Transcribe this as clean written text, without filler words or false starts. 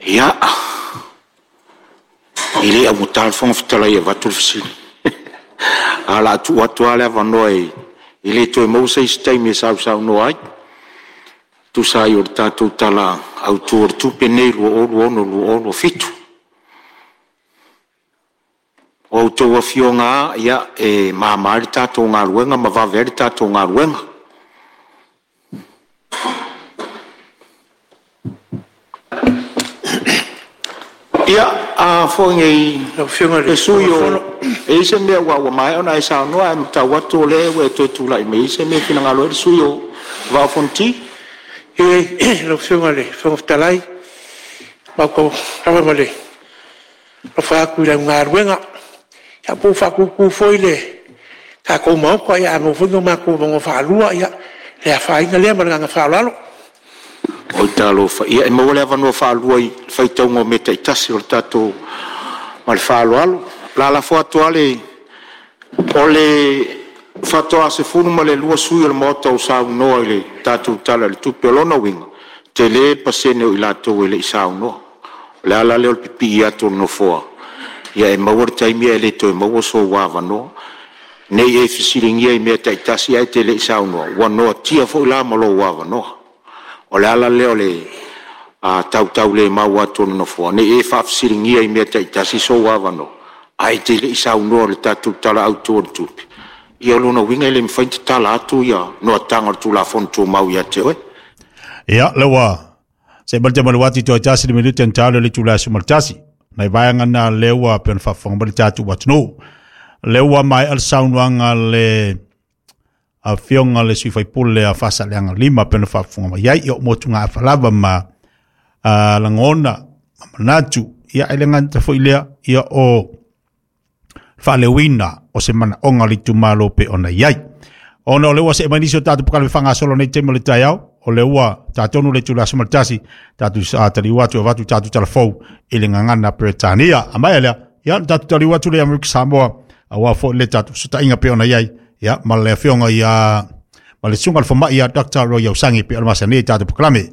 Ia, e le augata le Fofoga Fetalai e avatu le fesili, ae o le a tuu atu lava le avanoa e le toe maua se isi taimi e sausaunoa ai, e tusa ai o le tatou Tala Autu o le Tupe lenei 2026/2027. O a outou afioga lava, e mama ai le tatou galuega ma vave ai le tatou galuega. Ia, a foi nei Lau Afioga i le le sui Fofoga usufono, e i ai se mea ua maea ona e saunoa, ae matau atu o lea ua e toe tulai mai e i ai se mea e finagalo ai le sui usufono o le Vaa o Fonoti. Ioe lau Afioga i le Fofoga Fetalai, matou te lava ma le alofa atu i lau galuega, ia po ua faatutu foi le tatou Maota, a maua foi ni matou avanoa faalua, ia le afaina lea. Ma le agaga faaaloalo. Oi talofa, ia e maua le avanoa faalua i le faitauga o mea taitasi o le tatou... Ma le faaaloalo. O le a lafo atu lava le... O le faatoa 12 sui usufono o le Maota ua saunoa i le tatou Tala i le Tupe. O lona uiga, e tele le pasene o i latou e le i saunoa. O le ala lea o le pipii atu o le Nofoa, ia e maua le taimi ae le toe maua sou avanoa. Ne i e fesiligia i mea taitasi ae te le i saunoa, ua noatia foi la ma lou avanoa. O le ala lea o le tautaulemau atu o le Nofoa, ne i e faafesiligia i mea taitasi sou avanoa, ae te le i saunoa i le tatou Tala Autu o le Tupe, ia o lona uiga e le mafai ona tatala atu noataga o le Tulafono Tumau ia te oe. Ia, lea ua se mai le malu atu toe tasi le minute na talo le itula e 11. Nai vaega na lea ua pei ona faafofoga mai le tatou atunuu. Lea ua maea le saunoaga a le afioga le sui faipule a Faasaleleaga 5 pei ona faafofoga mai ai. Ia o motugaafa lava ma lagona ma manatu. Ia e le gata foi lea, ia o faaleoina o se manaoga o le itumalo pe ona i ai. Ona o lea ua see mai nisi o tatou polokalame faagasolo nei taimi o le taeao, o lea ua tatonu le itula 11, tatou taliu atu e avatu tatou talafou i le gagana Peretania. A maea lea, ia ona tatou taliu atu lea i Amerika Samoa, aua foi le tatou fesootaiga pei ona i ai, ia, ma le afioga ia ma le susuga i le fomai ia Dr. Roy Ausangi pei ona masani ai tatou polokalame.